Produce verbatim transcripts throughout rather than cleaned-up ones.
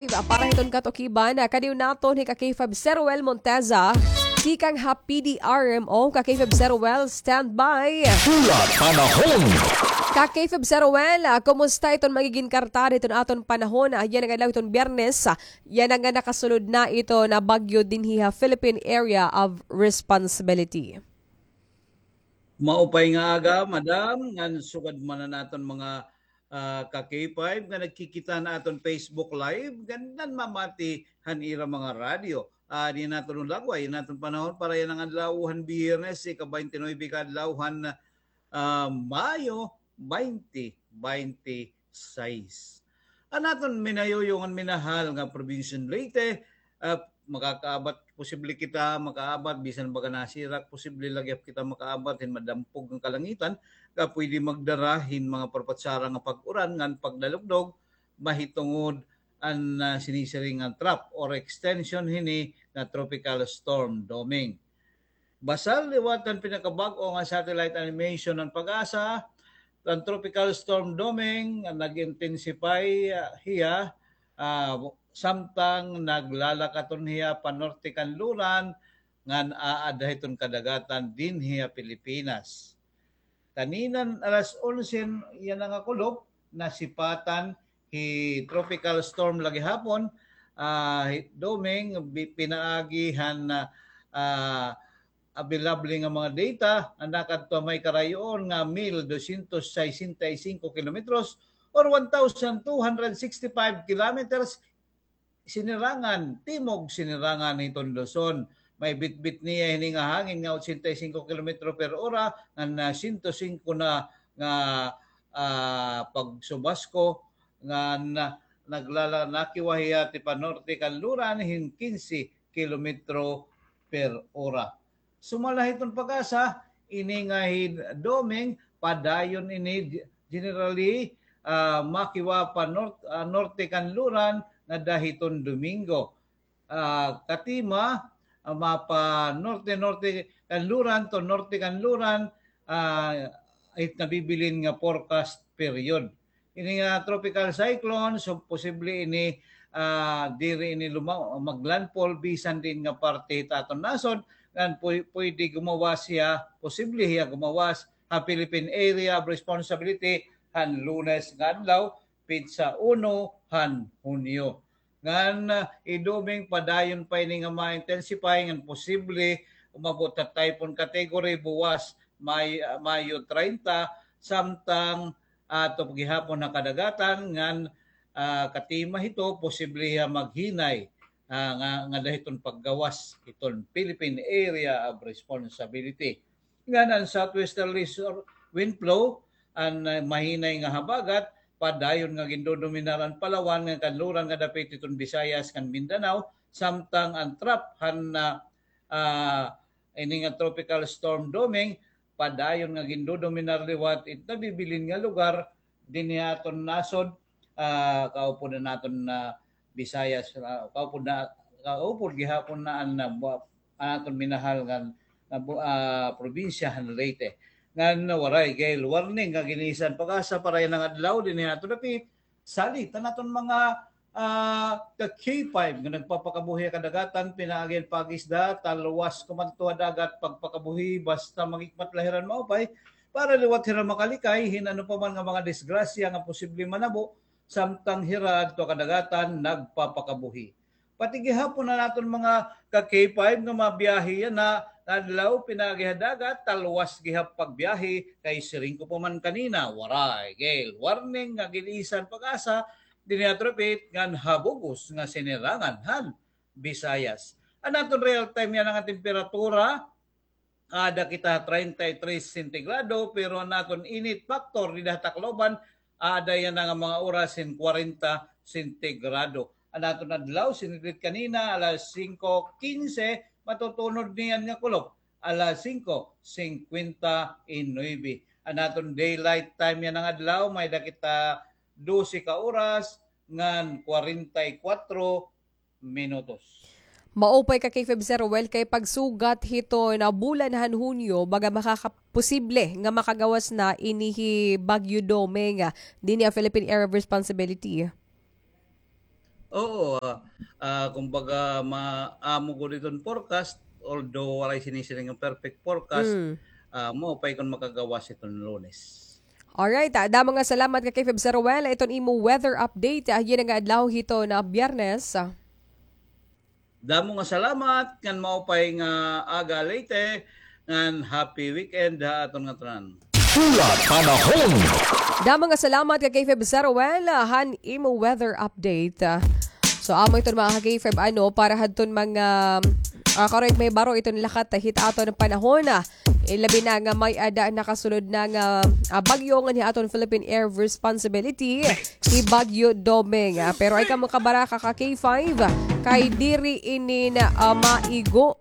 Para hiton katukiban, ah, kadiyo naton hi ka K five Sir Well Monteza, tikang ha P D R M O. Ka K five Sir Well, stand by. Pula Panahon. Ka K five Sir Well, ah, kumusta iton magigin kartada hiton aton panahon? Ah, yana nga adlaw hiton Biyernes, ah, yana nga nakasulod na iton bagyo dinhi ha Philippine Area of Responsibility. Maupay nga aga, madam, ngan sugad man an aton mga, ah, ka K five nga nagkikita han aton Facebook Live, ngan nanmamati han ira mga radyo. Ah, di naton lagway an aton panahon para yana nga adlaw han Biyernes, ika-twenty-nine ka adlaw han, ah, Mayo, twenty twenty-six. An aton minayuyo ngan minahal nga probinsya han Leyte, ah, makakaabat, posible kita makaabat, bisan baga nasirak, posible la gihap kita makaabat hin madampog nga kalangitan, nga pwede magdara hin mga parpatsara nga pag-uran ngan pagdalugdog, mahitungod an, ah, sinisiring nga trough or extension hini nga Tropical Storm Doming. Basal liwat han pinakabag-o nga satellite animation han PAGASA, an Tropical Storm Doming, ah, nag-intensify, ah, hiya, ah, samtang naglalakaton hiya panorte kanluran, ngan aada hiton kadagatan dinhi ha Pilipinas. Kaninan alas onse yana nga kulop, nasipatan hi Tropical Storm la gihapon, ah, hi Doming, bi-, pinaagi han, ah, ah, available nga mga data, an nakadto ha may karayoon nga mil dosyentos sesenta y singko kilometros or one thousand two hundred sixty-five kilometers, sinirangan, timog sinirangan hiton Luzon. May bitbit niya hini nga hangin nga ochenta y singko kilometro per ora, ngan, ah, siyento singko na nga, ah, pagsubasko, ngan, ah, naglala-, nakiwa hiya tipanorte kanluran hin kinse kilometro per ora. Sumala hiton PAGASA, ini nga hi Doming, padayon ini, generally, ah, makiwa pa nort-, ah, norte kanluran ngada hiton Domingo. Ah, katima, ah, mapa-norte-norte kanluran to norte kanluran, ah, it nabibilin nga forecast period. Ini nga tropical cyclone, so posible ini, ah, diri ini luma-, maglandfall bisan diin nga parte hit aton nasod, ngan pwe-, pwede gumawas hiya, posible hiya gumawas ha Philippine Area of Responsibility han Lunes nga adlaw, petsa uno han Hunyo. Ngan, ah, hi Doming padayon pa ini nga ma-intensify ngan posible umabot ha typhoon category buwas May-, ah, Mayo treinta, samtang ato gihapon ha kadagatan ngan, ah, katima hito posible hiya maghinay, ah, nga, ngada hiton paggawas hiton Philippine Area of Responsibility. Ngan an southwesterly sor-, wind flow, an, ah, mahinay nga habagat, padayon nga gindodominar an Palawan ngan kanluran nga dapit hiton Visayas ngan Mindanao, samtang an trough han, ah, ah, ini nga Tropical Storm Doming, padayon nga gindodominar liwat it nabibilin nga lugar dinhi ha aton nasod, ah, kaupod an aton, ah, Visayas, ah, kaupod na, kaupod gihapon na an, ah, bu-, an aton minahal nga, nga bu-, ah, probinsya han Leyte. Ngan waray gale warning nga gin-isan PAGASA para yana nga adlaw dinhi ha aton dapit, salit an aton mga, ah, ka K five nga nagpapakabuhi ha kadagatan, pinaagi han pag-isda, talwas kumanto ha dagat pagpakabuhi, basta maghikmat la hira hin maupay, para liwat hira makalikay hin ano pa man nga mga disgrasya nga posible manabo, samtang hira adto ha kadagatan nagpapakabuhi. Pati gihapon an aton mga ka K five nga mabiyahe yana nga adlaw pinaagi ha dagat, talwas gihap pagbiyahe, kay siring ko pa man kanina, waray gale warning nga gin-isan PAGASA dinhi ha Tripit ngan ha bug-os nga sinirangan han Visayas. An aton real time yana nga temperatura, aada kita ha treinta y tres sentigrado, pero an aton init factor dida ha Tacloban, aada yana nga mga oras hin kwarenta sentigrado. An aton adlaw, sinidlit kanina, alas singko kinse, matutunod niyan nga kulop, alas singko singkwenta y nuebe. An aton daylight time yana nga adlaw, may-ada kita dose ka oras ngan kwarenta y kwatro minutos. Maupay ka K five Sir Well, kay pagsugat hiton bulan han Hunyo, baga makaka-, posible nga makagawas na ini hi Bagyo Doming dinhi ha Philippine Area of Responsibility. Oo, ah, ah, kumbaga, ma-, amo gud iton forecast, although waray sini-sini nga perfect forecast, Mm. ah, maupay kon makagawas iton Lunes. Alright, ah, damo nga salamat ka K five Sir Ruel. Iton imo weather update, ah, yana nga adlaw hiton Biyernes. Damo nga salamat, ngan maupay nga aga Leyte, ngan happy weekend ha aton ngatanan. Pula Panahon. Damo nga salamat ka K five Sir Ruel, ah, han imo weather update. Ah, so, amo iton mga ka K five, ano, para hadton mga, ah, karon may baro iton lakat hit aton panahon, ah. Eh, labi na nga may-ada nakasulod na nga, ah, bagyo ngan hi aton Philippine Air Responsibility, hi Bagyo Doming. Ah, pero ay kamo kabaraka ka K five, kay diri ini na, ah, maigo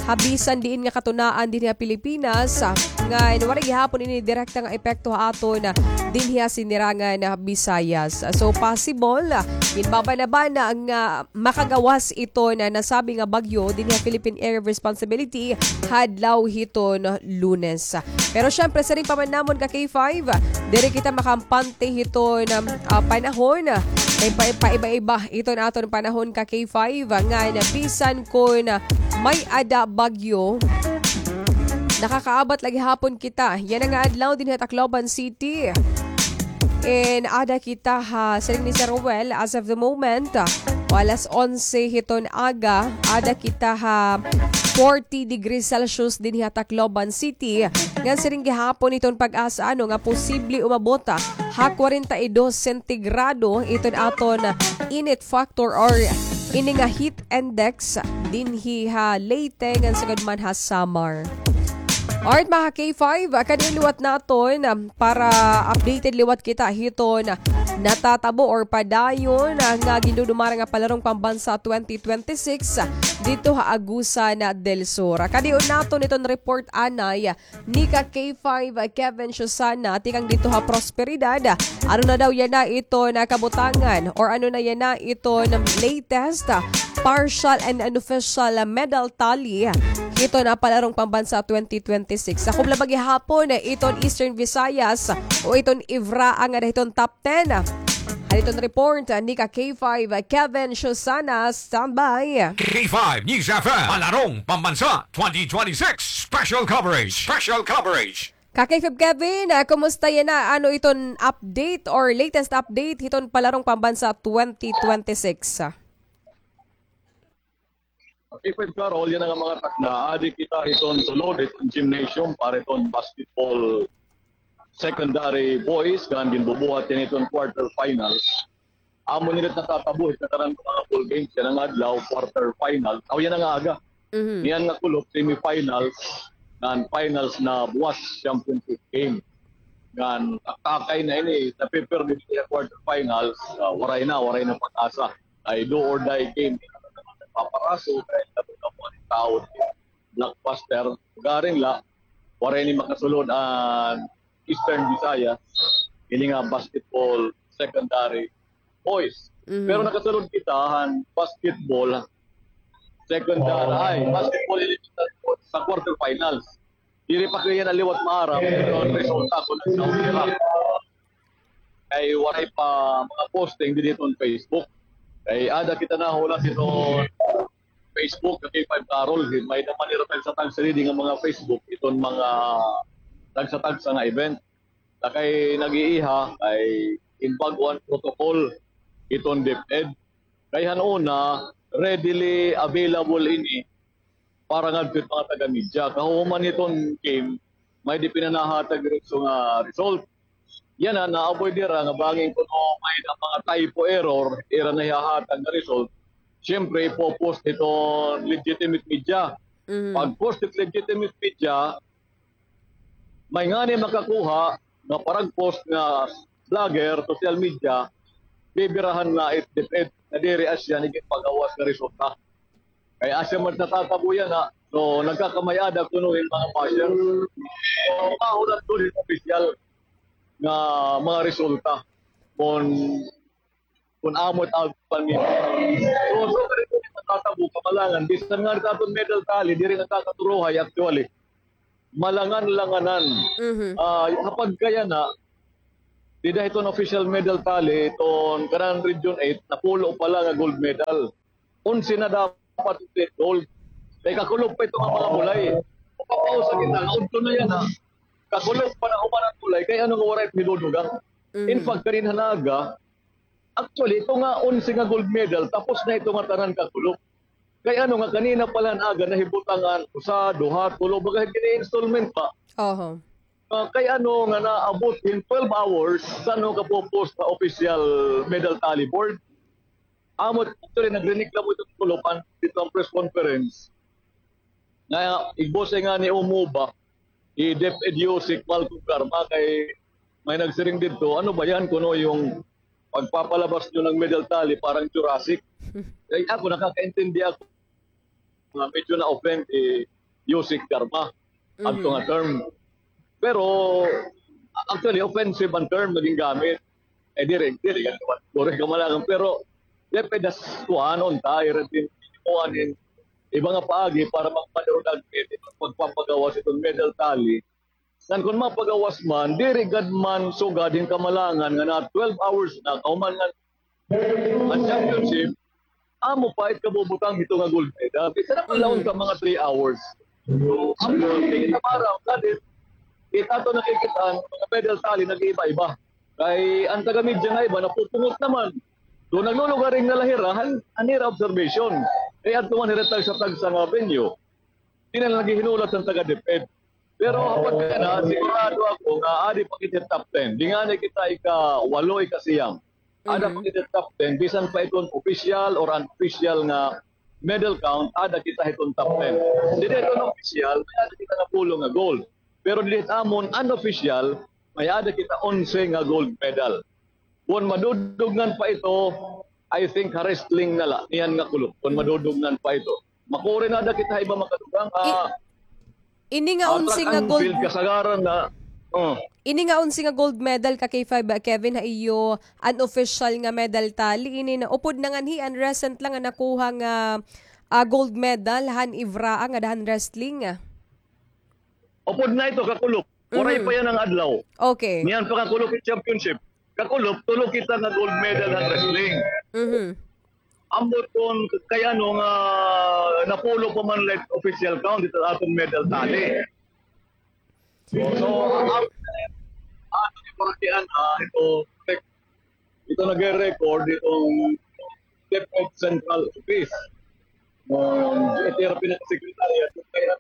ha bisan diin nga katunaan dinhi ha Pilipinas, ah, ngan waray gihapon ini direkta nga epekto ha aton, ah, dinhi ha sinirangan, ah, Visayas. Ah, so, possible, ah, ginbabana-bana nga makagawas iton nasabi nga bagyo dinhi ha Philippine Area of Responsibility ha adlaw hiton Lunes. Pero syempre, siring pa man namon ka K five, diri kita makampante hiton, um, ah, panahon. Kay pa-, paiba-iba iton aton panahon ka K five, ngan bisan kon may-ada bagyo, nakakaabat la gihapon kita yana nga adlaw dinhi ha Tacloban City. And ada kita ha, siring ni Sir Ruel, as of the moment, ah, alas onse hiton aga, ada kita ha forty degrees Celsius dinhi ha Tacloban City. Ngan siring gihapon hiton PAGASA, ano, nga posible umabot, ah, ha kwarenta y dos sentigrado iton aton init factor or ini nga heat index dinhi ha Leyte ngan sugad man ha Samar. Alright, mga K five, ah, kadi liwat naton, ah, para updated liwat kita hiton natatabo or padayon, ah, nga gindudumara nga Palarong Pambansa twenty twenty-six, ah, didto ha Agusan del Sur. Ah, kadi naton iton report anay, ah, ni ka K five, ah, Kevin Susana, tikang didto ha Prosperidad. Ano na daw yana iton kabutangan or ano na yana iton latest, ah, partial and unofficial, ah, medal tally hiton, ah, Palarong Pambansa twenty twenty-six. Sakob la ba gihapon, ah, iton Eastern Visayas o iton IVRAA nga ada hiton top ten. Haliton report, ah, ni ka K five, ah, Kevin Susana. Standby. K five News F M, Palarong Pambansa twenty twenty-six Special Coverage. Special Coverage. Ka K five Kevin, ah, kumusta yana? Ano iton update or latest update hiton Palarong Pambansa twenty twenty-six? K five Carol, yana nga mga takna, adi kita hiton sulod hiton gymnasium para hiton basketball secondary boys, ngan ginbubuhat yana hiton quarter finals. Amo nira natatabo hit nakaran nga mga bowl games yana nga adlaw, quarter final. Aw, yana nga aga. Mhm. Niyan nga kulop, semifinals, ngan finals na buwas, championship game. Ngan taktakay na ini, napipirmi didi ha quarter finals, ah, waray na, waray na pag-asa. Ay do or die game. Paparaso, kay dapat na po ang tao, blockbuster. Garing la, waray ni makasulod an Eastern Visayas, ini nga basketball secondary boys. Mhm. Pero nakasulod kita han basketball secondary, ay, basketball eliminatory sa quarterfinals. Diri pa ko yana liwat maaram, pero an resulta kon nagsaon sira. Kay waray pa mga posting didi hiton Facebook. Kay ada kita nahulat hiton Facebook, kay Five Carol, may-ada man nira tagsa-tagsa didi nga mga Facebook, iton mga tagsa-tagsa nga event. Ta kay nag-iiha, kay ginbag-o an protocol iton DepEd. Kay han una, readily available ini para ngadto hit mga taga-media. Kahuman hiton game, may-ada ipinanahatag diretso nga result. Yana, na-avoid nira nga bangin kuno may-ada mga typo error, ira na ihahatag nga result. Siyempre, ipo-post hiton legitimate media. Mhm. Pag-post hit legitimate media, may ngani makakuha nga parag-post nga vlogger, social media, bibirahan na it DepEd nga diri asya an iginpagawas nga resulta. Kay asya man natatabo yana, so nagkakamay-ada kuno hin mga basher. Mahulat kuno hin opisyal nga mga resulta kon, kon amo it outcome nito. So, so, natatabo, kamalangan, bisan ngani it aton medal tally, diri nagkakaturuhay, actually. Malangan-langanan. Mhm. Ah, ha pagkayana, dida hiton official medal tally, hiton kanan Region eight, napulo pa la nga gold medal. Onse na dapat it gold. Kay kakulop pa ito nga mga bulay. Mapapausa kita, nga udto na yana, kakulop pa na human an bulay, kay ano nga waray it hidudugang. In fact, kanin han aga, actually, ito nga onse nga gold medal, tapos na ito nga tanan kakulop. Kay ano nga, kanina pa la han aga, nahibutang an usa, duha, tulo, baga gini-installment pa. Oho. Ah, kay ano nga naabot in twelve hours, san-o ka popos sa official medal tally board. Amo, actually, nagreklamo iton kulupan didto han press conference. Nga, igbose nga ni Umuba, hi DepEd Yusek Malcolm Garma, kay may nagsiring didto, "Ano ba yan? Kuno yung pagpapalabas niyo ng medal tally, parang Jurassic." Kay ako, nakakaintindi ako nga medyo na-offend hi Yusek Garma adto nga term. Pero, actually, offensive an term nga gingamit. Eh, diri, diri, diri, diri, kamalangan. Pero, depende sa kuan, unta, ira din, kuan, in, iba nga paagi para magpadulag, eh, pagpapagawas iton medal tally. Ngan kon mapagawas man, diri gad man sugad hin kamalangan nga na twelve hours na, kahuman nga an championship, amo pa it kabubutang hito nga gold medal. Bisan na man la unta mga three hours. Amo, tingin na para, kadit, it ato nakikita, an mga medal tally, nag-iiba-iba. Kay an taga-media nga iba, napupungot naman. So, naglulugaring na la hira, han, han ira observation. Kay adto man hira tagsa-tagsa nga venue. Di na naghihinulat an taga-DepEd. Pero hapag kana, sigurado ako nga adi pa kita top ten. Di ngani kita ika-walo, ika-siyam. Ada pa kita top ten, bisan pa iton official or unofficial nga medal count, ada kita hiton top ten. Didi hiton official, may ada kita napulo nga gold. Pero didi hit amon unofficial, may ada kita onse nga gold medal. Kon madudugngan pa ito, I think ha wrestling na la, niyan nga kulop, kon madudugngan pa ito. Makuri na ada kita ha iba makadugang, ah, ini nga onse nga gold, kasagaran na, oh. Ini nga onse nga gold medal ka K five, ah, Kevin, ha iyo unofficial nga medal tally, ini na upod na nganhi an recent la nga nakuha nga, ah, gold medal han Ivraa ngada han wrestling, ah. Upod na ito, kakulop. Waray pa yana nga adlaw. Okay. Niyan pa kakulop it championship. Kakulop, tulo kita nga gold medal han wrestling. Ambot kon kay ano nga napulo pa man la it official count dida ha aton medal tally. So, ang, ang, ang, ah, ito, ito nagre-record itong DepEd Central Office. Um, ito yung pinaka-secretary at kaya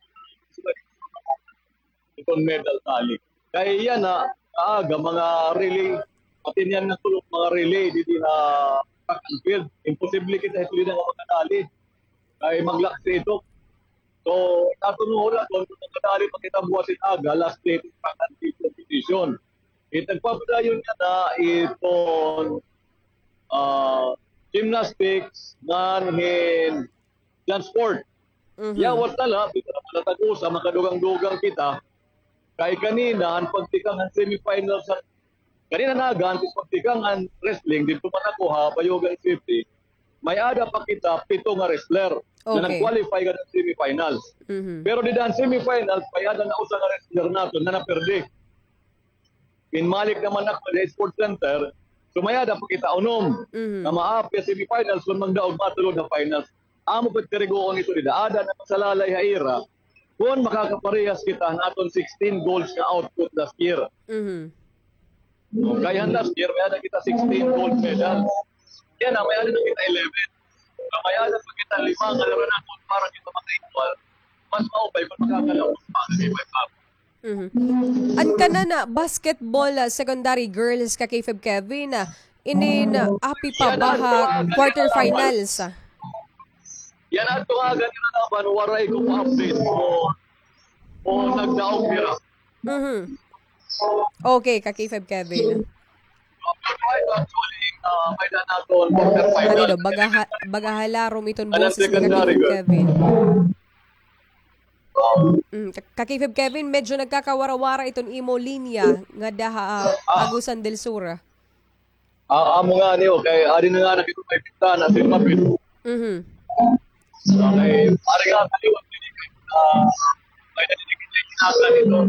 itong medal tally. Kay yana, aga, mga relay, pati niyan nga tulog, mga relay, didi ha track and field. Imposible kita ito din ang mga tally. Kay mag-lock sa ito. So, natungo na, kung makadali pa kita buwas it aga, last day, track and field competition. It nagpapadayon niya na iton, ah, gymnastics, ngan hin dance sport. Yawat na la, kita na pala tag-usa, makadugang-dugang kita. Kay kanina, an pagtikang han semifinals, kanina na, an pagtikang han wrestling, didto man ako ha Bayugan City, may-ada pa kita pito nga wrestler nga nag-qualify ngada han semifinals. Pero dida han semifinals, may-ada na usa nga wrestler naton nga naperde. Pinmalik naman ako sa Sports Center, so may-ada pa kita unom nga maapil ha semifinals kon magdaog matulod ha finals. Amo pa it kariguon ito dida. Ada na sa lalay ha ira kon makakaparehas kita han aton sixteen golds nga output last year. Kay han last year, may-ada kita sixteen gold medals. Yana, may-ada na kita eleven. Nga may-ada pa kita lima nga naranaton para kita maka-equal. Mas maupay kon makakalaos pa sa iba-iba. An kanan, ah, basketball, ah, secondary girls ka K five Kevin, ah, inin, ah, api pa ba ha quarterfinals? Yana, adto nga ganina naman, waray ko pa-update kon, kon nagdaog hira. Okay, ka K five Kevin. Ano daw, baga ha-, baga halarom iton boses ni ka K five Kevin. Mm, ka-, ka K five Kevin, medyo nagkakawara-wara iton imo linya ngada ha, ah, Agusan del Sur. Ah, amo ngani, o, kay adi na ngani kita may bintana, sa mapit. Okay, pare nga, kaliwat, ah, may nadidikitan dito.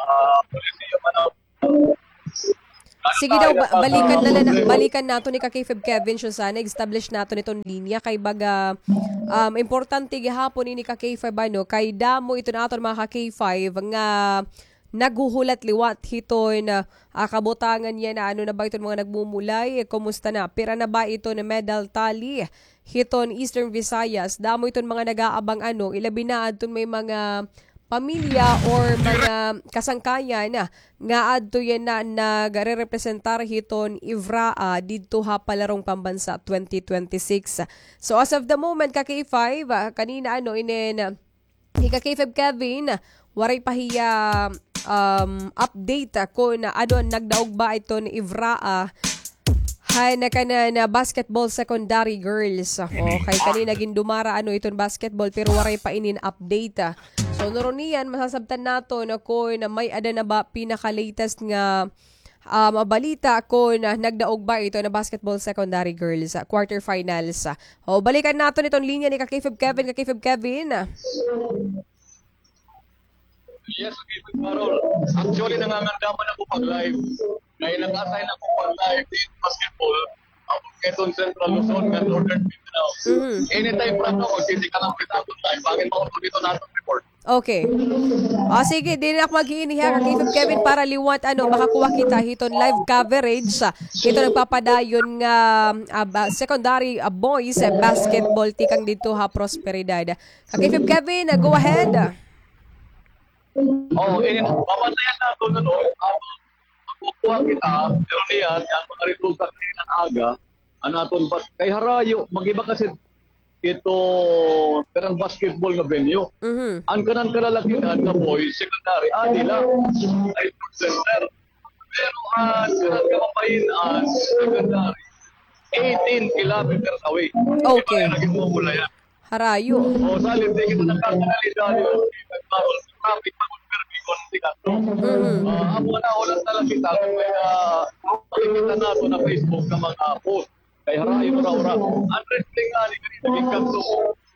Ah, polisiya man ako. Sige daw, ba- balikan na lang, balikan naton ni ka K five Kevin, Shosana, establish naton iton linya kay baga, um, importante gihapon ini ka K five, ano, kay damo iton aton mga ka K five nga naghuhulat liwat hiton, ah, kabutangan yana, ano na ba iton mga nagmumulay, kumusta na, pira na ba iton medal tally hiton Eastern Visayas. Damo iton mga nag-aabang, ano, ilabi na adton may mga pamilya or mga kasangkayan nga adto yana nagarerepresentar hiton IVRAA didto ha Palarong Pambansa twenty twenty-six. So as of the moment, ka K five, ah, kanina, ano, inin, ah, hi ka K five Kevin, waray pa hiya, um, update, ah, kon ano an nagdaog ba iton IVRAA han kanan, ah, basketball secondary girls. Okay, kanina gindumara, ano, iton basketball, pero waray pa inin update, ah. So, nuruniyan, masasabtan naton kon may-ada na ba pinaka-latest nga, um, balita kon, ah, nagdaog ba iton basketball secondary girls, ah, quarterfinals, ah. O, balikan naton iton linya ni ka K five Kevin, ka K five Kevin. Yes, okay, Carol. Actually, nangangandaman ako pag-live. Kay nag-assign ako pag-live in basketball. Ako, iton Central Luzon, ngan Northern Mindanao. Mhm. Anytime from now, magsisika lang kita ako live. Bakit mo ako dito natin report? Okay. O, sige, diri na ako mag-iiniha, ka K five Kevin, para liwat, ano, makakuha kita hiton live coverage, ah, hiton nagpapadayon nga, ah, ba- secondary, ah, boys, ah, basketball tikang didto ha Prosperidad. Ka K five Kevin, ah, go ahead. Oo, eh, mabantayan naton, ano, ah, magkukuha kita, pero niyan, an mga resulta kanina nga aga, an aton pa, kay harayo, mag-iba kasi ito, kanang basketball nga venue. Mhm. An kanan kalalakihan nga boys, secondary, adi la, ay center. Pero, ah, kanan kababayin-an, secondary, eighteen kilometers away. Okay. Iba na naging mumula yan. Harayo. O, salit, di kita nagkakanalidad, traffic, pag-permi kon di ka. Mhm. Ah, amo na, wala talaga kita. Kaya, makikita naton ha Facebook nga mga post. Kay harayo, ura-ura. An wrestling nga, di ka rin naging kanto.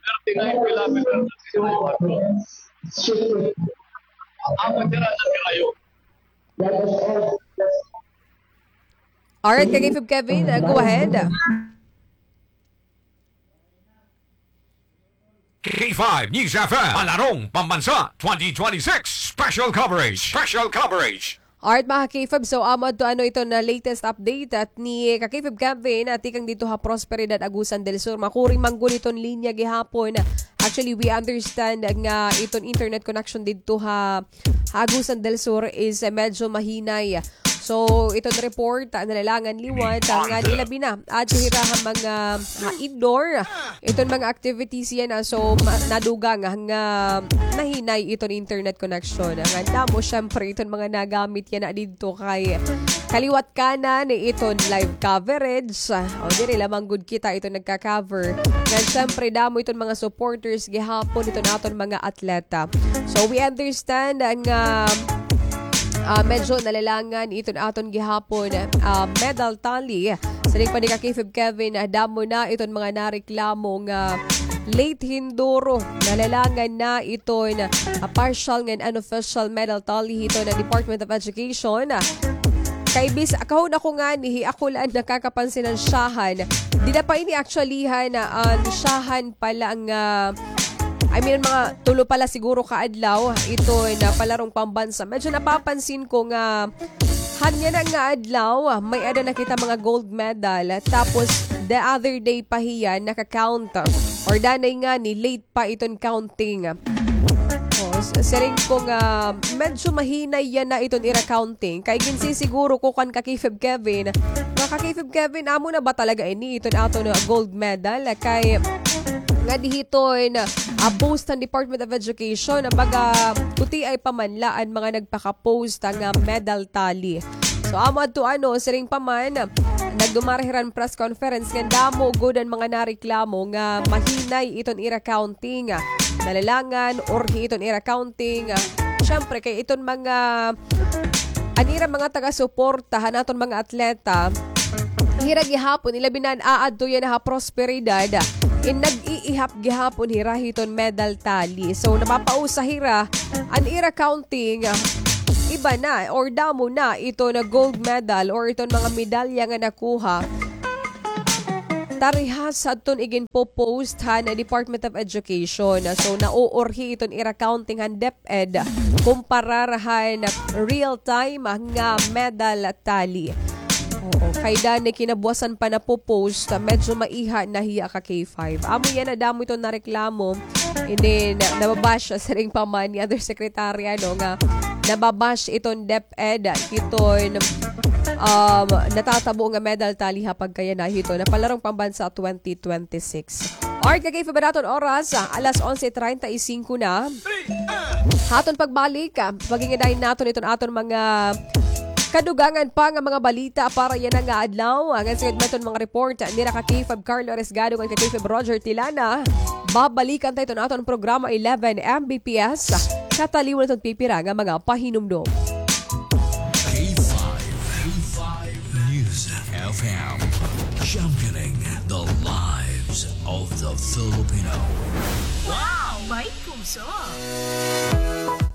Thirty-nine kilometers na siya. Amo, tira na, tira yun. Alright, ka K five Kevin, uh, go ahead. K five News F M, Palarong Pambansa, twenty twenty-six Special Coverage. Special Coverage. Alright, mga ka K five, so amo adto, ano, iton na latest update, ah, ni ka K five Kevin, ah, tikang didto ha Prosperidad, Agusan del Sur. Makuri man gud iton linya gihapon. Actually, we understand nga iton internet connection didto ha, ha Agusan del Sur is, eh, medyo mahinay. So, iton report, ah, nalalangan liwat, ah, ngan ilabi na adto hira ha mga, ah, indoor. Iton mga activities yana, ah, so, ma- nadugang nga nahinay iton internet connection. Ngan damo, syempre, iton mga nagamit yana didto kay kaliwat kanan iton live coverage. O, diri lamang gud kita iton nagka-cover. Ngan syempre, damo iton mga supporters gihapon iton aton mga atleta. So, we understand nga, ah, medyo nalalangan iton aton gihapon, ah, medal tally. Siring pa ni ka K five Kevin, ah, damo na iton mga nareklamo nga late hinduro. Nalalangan na iton, ah, partial ngan unofficial medal tally hiton Department of Education. Kay bis-, kahon ako ngani, hi ako la an nakakapansin han syahan. Dida pa ini actually han, ah, an syahan pala nga, I mean, mga tulo pala siguro ka adlaw, iton Palarong Pambansa. Medyo napapansin ko nga han yana nga adlaw, may-ada na kita mga gold medal. Tapos, the other day pa hiya, naka-count. Or danay ngani, late pa iton counting. O, s- siring ko nga medyo mahinay yana iton ira counting. Kay ginsisiguro ko kan ka K five Kevin, nga ka K five Kevin, amo na ba talaga ini iton aton gold medal? Kay ngadi hiton, ah, post han Department of Education, baga, kuti ay pa man la an mga nagpaka-post nga medal tally. So, amo adto, ano, siring pa man, nagdumara hira han press conference ngan damo gud an mga nareklamo nga mahinay iton ira counting. Nalalangan, urhi iton ira counting. Syempre, kay iton mga, an ira mga taga-suporta han aton mga atleta, hira gihapon, ilabi na an aadto yana ha Prosperidad, in nag-iihap gihapon hira hiton medal tally. So, napapausa hira, an ira counting, iba na or damo na iton gold medal or iton mga medalya nga nakuha. Tari ha sa aton iginpo-post han Department of Education. So, nauurhi iton ira counting han DepEd kumparar han real time nga medal tally. Oo, kay danay kinabuwasan pa napo-post, medyo maiha na hiya ka K five. Amo yana, damo iton nareklamo. And then, nababash siring pa man ni Undersecretary, ano, nga nababash iton DepEd, hiton, um, natatabo nga medal tally ha pagkayana hiton Palarong Pambansa twenty twenty-six. Alright, ka K five, an aton oras, ah, alas onse treinta y cinco na. Ha aton pagbalik, ah, paghingidain naton iton aton mga kadugangan pa nga mga balita para yana nga adlaw. Ngan sugad man iton mga report nira ka K five Carlo Arriesgado ngan ka K five Roger Tilana, babalikan ta iton aton programa eleven M B P S. Kataliwan iton pipira nga mga pahinumdom. K five, K five News F M, championing the lives of the Filipino. Wow! May puso!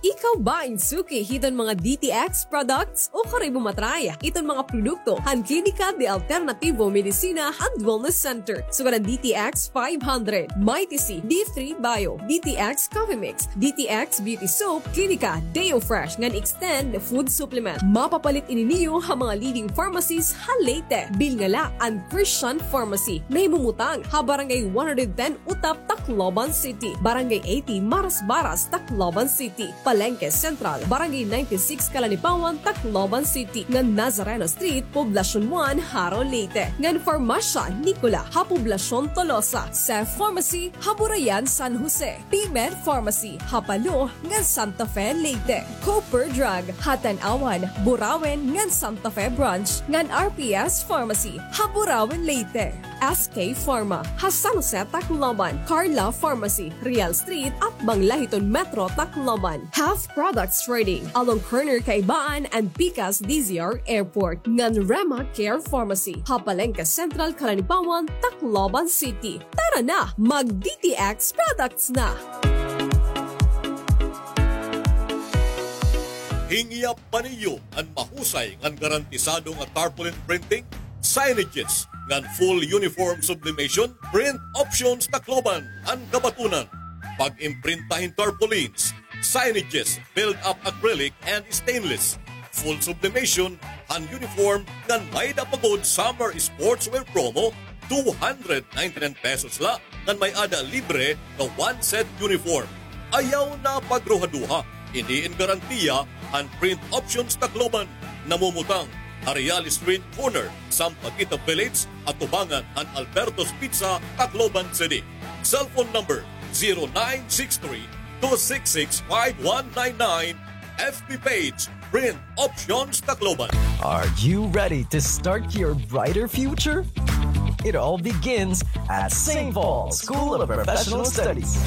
Ikaw ba in suki hiton mga D T X products o kari mo matry iton mga produkto han Klinika de Alternativo Medicina and Wellness Center? Sugad an D T X five hundred, Mighty C, D three Bio, D T X Coffee Mix, D T X Beauty Soap, Klinika Deo Fresh ngan Extend Food Supplement. Mapapalit ini niyo ha mga leading pharmacies ha Leyte. Bilnga la an Christian Pharmacy, nahimumutang ha Barangay one hundred ten Utap, Tacloban City, Barangay eighty Marasbaras, Tacloban City, Palenque Central, Barangay ninety-six Calanipawan, Tacloban City, ngan Nazareno Street, Poblacion one, Jaro, Leyte, ngan Farmasya Nicola ha Poblacion Tolosa, Seth Pharmacy ha Burayan, San Jose, P-Med Pharmacy ha Palo ngan Santa Fe, Leyte, Cooper Drug ha Tanauan, Burauen ngan Santa Fe Branch, ngan R P S Pharmacy ha Burauen, Leyte, S K Pharma ha San Jose, Tacloban, Carla Pharmacy, Real Street, atbang la hiton Metro Tacloban, Health Products Trading along corner Kaibaan and Pikas D Z R Airport, ngan Rema Care Pharmacy ha Palenque Central, Calanipawan, Tacloban City. Tara na, mag D T X products na! Hingyap pa niyo an mahusay ngan garantisado nga tarpaulin printing, signages, ngan full uniform sublimation? Print Options Tacloban an kabatunan. Pag-imprinta hin tarpaulins, signages, build-up acrylic and stainless, full sublimation han uniform, ngan may-ada pa gud summer sportswear promo, two hundred ninety-nine pesos la, ngan may-ada libre nga one set uniform. Ayaw na pagruhaduha, ini in garantiya han Print Options Tacloban. Namumutang ha Real Street, corner Sampaguita Village, atubangan han Alberto's Pizza, Tacloban City. Cellphone number, zero nine six three, two six six, five one nine nine. F B page, Print Options Tacloban. Are you ready to start your brighter future? It all begins at Saint Paul School of Professional Studies.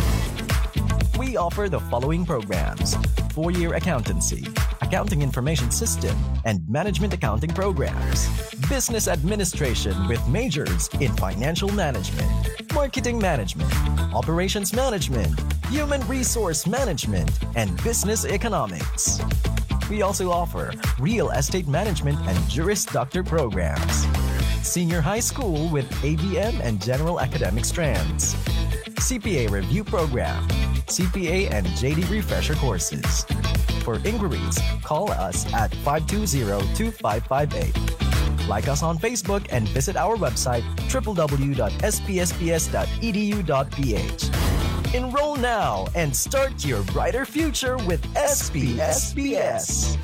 We offer the following programs: four-year accountancy, accounting information system, and management accounting programs, business administration with majors in financial management, marketing management, operations management, human resource management, and business economics. We also offer real estate management and Juris Doctor programs, senior high school with A B M and general academic strands, C P A review program, C P A and J D refresher courses. For inquiries, call us at five two zero, two five five eight. Like us on Facebook and visit our website, triple W dot S P S P S dot E D U dot P H. Enroll now and start your brighter future with S P S P S.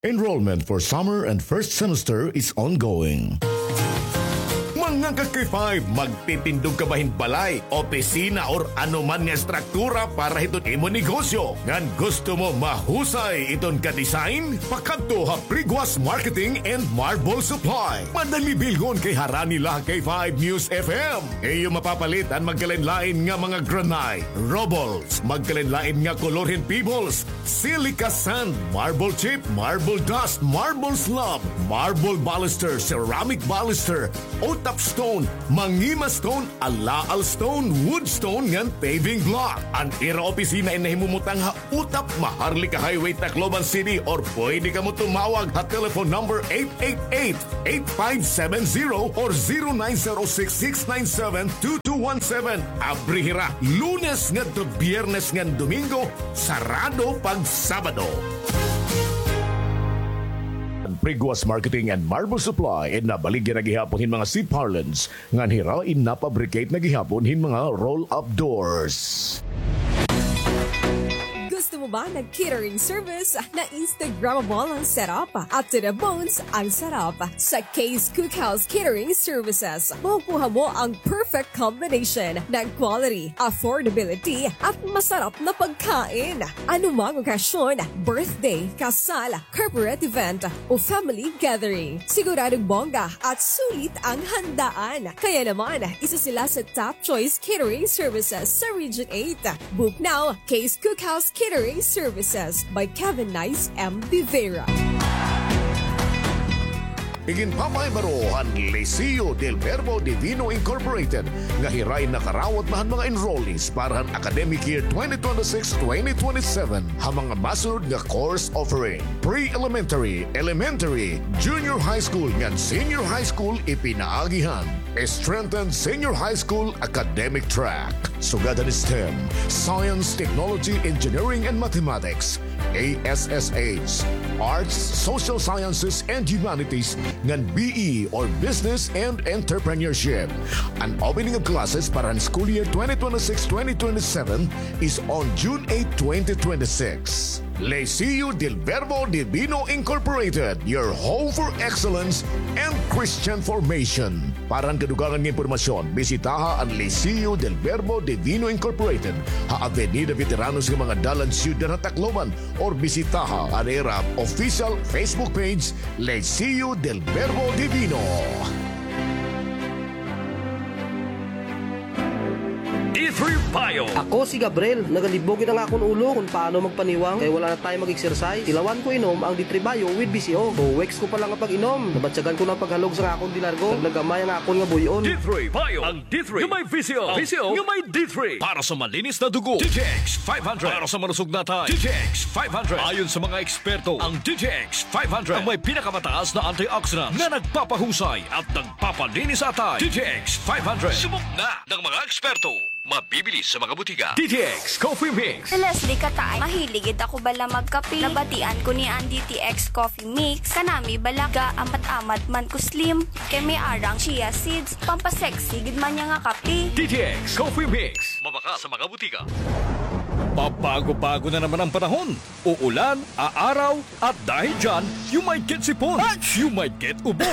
Enrollment for summer and first semester is ongoing. Mga ka-K five, magtitindog ka ba hin balay, opisina, or ano man nga estruktura para hiton imo negosyo? Ngan gusto mo mahusay iton ka-design? Pakadto ha Priguas Marketing and Marble Supply. Madali bilngon kay harani la ha K five News F M. Iyo mapapalit an magkalain-lain nga mga granite, rubbles, magkalain-lain nga kolor hin pebbles, silica sand, marble chip, marble dust, marble slab, marble baluster, ceramic baluster, Utap Stone, Mangima Stone, Alaal Stone, Wood Stone ngan paving block. An ira opisina in nahimumutang ha Utap, Maharlika Highway, Tacloban City, or pwede kamo tumawag ha telephone number eight eight eight, eight five seven zero or zero nine zero six, six nine seven, two two one seven. Abri hira Lunes ngadto Biyernes ngan Domingo, sarado pag Sabado. Priguas Marketing and Marble Supply, in nabaligya na gihapon hin mga C-parlance, ngan hira in napabricate na gihapon hin mga roll-up doors. Gusto mo ba ng catering service na Instagrammable ang setup at to the bones ang sarap? Sa Kay's Cookhouse Catering Services, makukuha mo ang perfect combination ng quality, affordability, at masarap na pagkain. Anumang okasyon, birthday, kasal, corporate event, o family gathering, siguradong bongga at sulit ang handaan. Kaya naman, isa sila sa top choice catering services sa Region eight. Book now, Kay's Cookhouse Catering Services by Kevin Nice M. Vivera. Iginpapahibaro han Liceo del Verbo Divino Incorporated nga hira in nakarawat na han mga enrollees para han academic year twenty twenty-six twenty twenty-seven ha mga masunod nga course offering: pre-elementary, elementary, junior high school ngan senior high school, ipinaagi han strengthened senior high school academic track, sugad han STEM, Science, Technology, Engineering, and Mathematics, A S S H, Arts, Social Sciences, and Humanities, ngan B E or Business and Entrepreneurship. An opening of classes para han school year twenty twenty-six twenty twenty-seven is on June eight, twenty twenty-six. Liceo del Verbo Divino Incorporated, your home for excellence and Christian formation. Para han kadugangan nga impormasyon, bisitaha an Liceo del Verbo Divino Incorporated ha Avenida Veteranos nga mga dalan, Syudad han Tacloban, or bisitaha an ira official Facebook page, Liceo del Verbo Divino. D three Bio. Ako si Gabriel. Nagalibog gid an akon ulo kon paano magpaniwang kay wala na tayo mag-exercise. Tilawan ko inom ang D three Bio with V C O. Two weeks ko pa lang nga pag-inom, nabatyagan ko na an paghalog sa akon dilargo. Nagnagamay ang akon nga buy-on. D three Bio. Ang D three nga may V C O. V C O nga may D three. Para sa malinis na dugo, D T X five hundred. Para sa malusog na atay, D T X five hundred. Ayon sa mga eksperto, ang D T X five hundred ang may pinakamataas na antioxidants na nagpapahusay at nagpapalinis sa atay. D T X five hundred. Subok na ng mga eksperto. Mabibili sa mga butika. D T X Coffee Mix. Si Leslie Kataay, mahilig gid ako bala magkape. Nabatian ko ni an D T X Coffee Mix. Kanami bala, gaamat-amat man ko slim. Kay may ara nga chia seeds, pampasexy gid man niya nga kape. D T X Coffee Mix. Mabakal sa mga butika. Pabago-bago na naman ang panahon. Uulan, aaraw, at dahil dyan, you might get sipon. You might get ubo.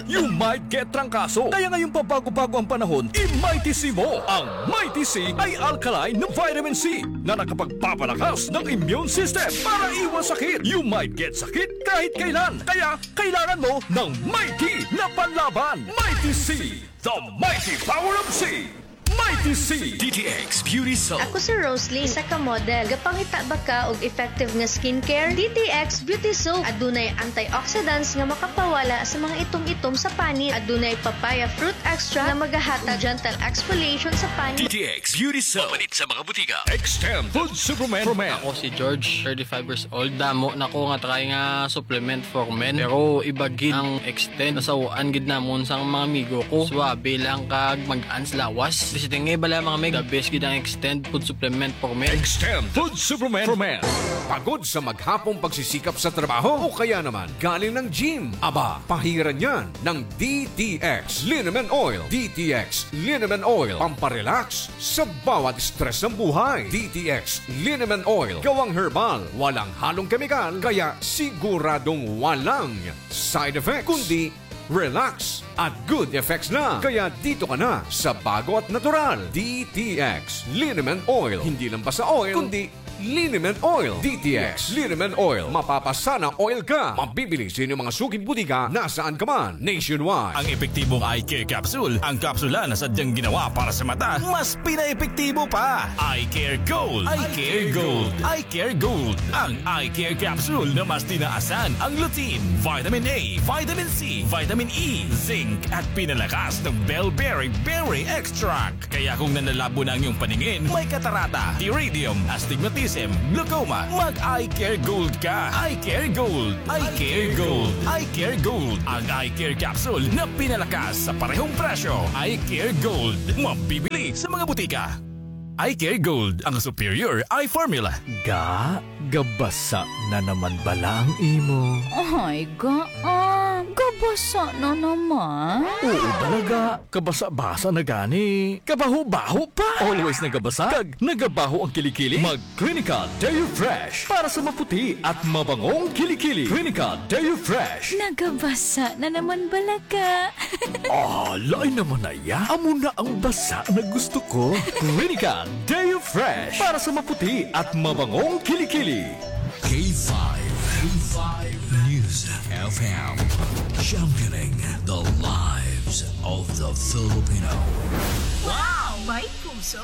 You might get trangkaso. Kaya ngayong pabago-bago ang panahon, i-Mighty C mo. Ang Mighty C ay alkaline na vitamin C na nakapagpapalakas ng immune system para iwas sakit. You might get sakit kahit kailan. Kaya kailangan mo ng Mighty na panlaban. Mighty C, the mighty power of C. Mighty C. D T X Beauty Soap. Ako si Roslyn, isa ka model. Gapangita ba ka og effective nga skincare? D T X Beauty Soap. Adunay antioxidants nga makapawala sa mga itom-itom sa panit. Adunay papaya fruit extract nga magahatag gentle exfoliation sa panit. D T X Beauty Soap. Mapalit sa mga butika. Extend Food Supplement for Men. Ako si George, thirty-five years old. Damo na ko nga try nga supplement for men. Pero iba gid ang Extend. Nasaw-an gid namon sang mga amigo ko. Suabe lang kag magaan sa lawas. Basta nga bala, mga meg, the best gid ang Extend Food Supplement for Men. Extend Food Supplement for Men. Pagod sa maghapong pagsisikap sa trabaho o kaya naman galing ng gym? Aba, pahiran yan ng D T X Liniment Oil. D T X Liniment Oil. Pamparelax sa bawat stress ng buhay. D T X Liniment Oil. Gawang herbal, walang halong kemikal, kaya siguradong walang side effects, kundi relax at good effects lang. Kaya dito ka na sa bago at natural, D T X Liniment Oil. Hindi lang basta oil, kundi Liniment Oil, D T X. Liniment Oil, mapapasana oil ka. Mabibili sa inyong mga suking butika nasaan ka man, nationwide. Ang epektibong eye care capsule, ang kapsula na sadyang ginawa para sa mata, mas pinaepektibo pa. Eye Care Gold. Eye Care Gold. Eye Care Gold. Ang Eye Care Capsule na mas tinaasan ang lutein, vitamin A, vitamin C, vitamin E, zinc, at pinalakas ng bellberry berry extract. Kaya kung nanlalabo na ang iyong paningin, may katarata, pterygium, astigmatism, glaucoma, mag-Eye Care Gold ka. Eye Care Gold. Eye Care Gold. Eye Care Gold. Ang Eye Care Capsule na pinalakas sa parehong presyo. Eye Care Gold. Mabibili sa mga butika. Eye Care Gold, ang superior eye formula. Ga, gabasa na naman bala ang imo? Ay, ga, ah, gabasa na naman? Oo bala, ga. Kabasa-basa na gani. Kabaho-baho pa. Always nagabasa, kag nagabaho ang kilikili. Mag Clinical Deo Fresh para sa maputi at mabangong kilikili. Clinical Deo Fresh. Nagabasa na naman bala, ga. Ah, lain naman na iya. Amo na ang basa na gusto ko. Clinical Deo Fresh para sa maputi at mabangong kilikili. K five, K five News F M, championing the lives of the Filipino. Wow! May puso!